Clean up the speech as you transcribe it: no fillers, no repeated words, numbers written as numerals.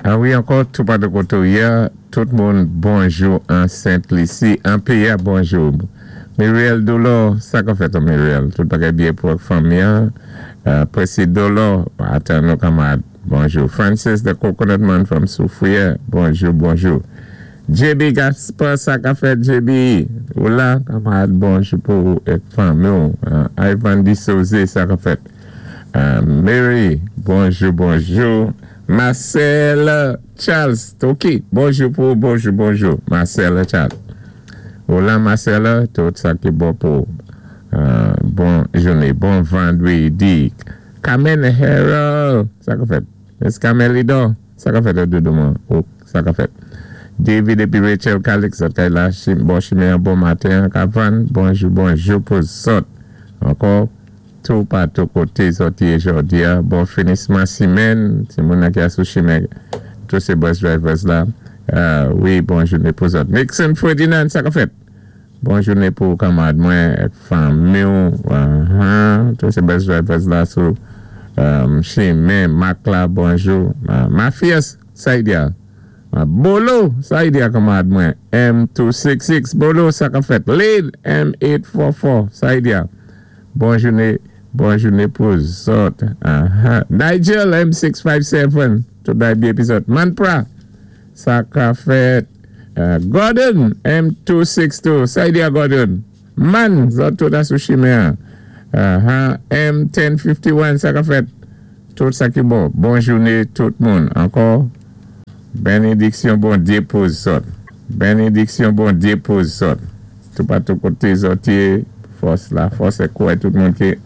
A wi, ankò, toupatou koté ou yé, tout moun, bonjou an Sent Lisi, an péyi-a, bonjou. Muriel Dolo, sa ka fèt, Muriel? Tout bagay byen pou fanmi. Presi Dolo, atan nou kanmarad, bonjou. Francis, the Coconut Man from Soufrière, bonjou, bonjou. JB Gaspar, sa ka fèt, JB? Ou la, kanmarad, bonjou pou fanmi. Ivan Di Souze, sa ka fèt? Mary, bonjou, bonjou. Marcel Charles, Toki, bonjou pou, bonjou, bonjou. Marcel Charles. Hola Marcel, tout sa ki bon pou bon jounen, bon vandrédi. Carmen Harold, sa ka fèt? Es Carmen Lido, sa ka fèt doudouman? Oh, sa ka fèt? David épi Rachel Calix, sa la, bon chimen, bon maten, Kavan, bonjou, bonjou pou zòt. Ankò, toupatou koté zòt yé jòdi, bon finisman simèn, sé moun ki a sou chimen, tous sé bus drivers la. Wi, bon jounen pou zòt. Nixon Ferdinand, sa ka fèt? Bon jounen pou kanmarad mwen, fanmi, tous sé bus drivers la sou chimen, Mak la, bonjou. Mafias, Saidia. Bolo, Saidia kanmarad mwen, M266, Bolo, sa ka fèt? Lane, M844, Saidia. Bon jounen, bon jounen pou zòt. Nigel, M657, tout bagay byen pou zòt. Manpra, sa ka fèt? Gordon, M262, Saidia Gordon. Man, zòt tout a sou chimen. M1051, sa ka fèt? Tout sa ki bon. Bon jounen tout moun. Ankò, benediksyon Bondyé pou zòt. Benediksyon Bondyé pou zòt. Toupatou koté zòt yé, fòs la, fòs é kwè tout moun ki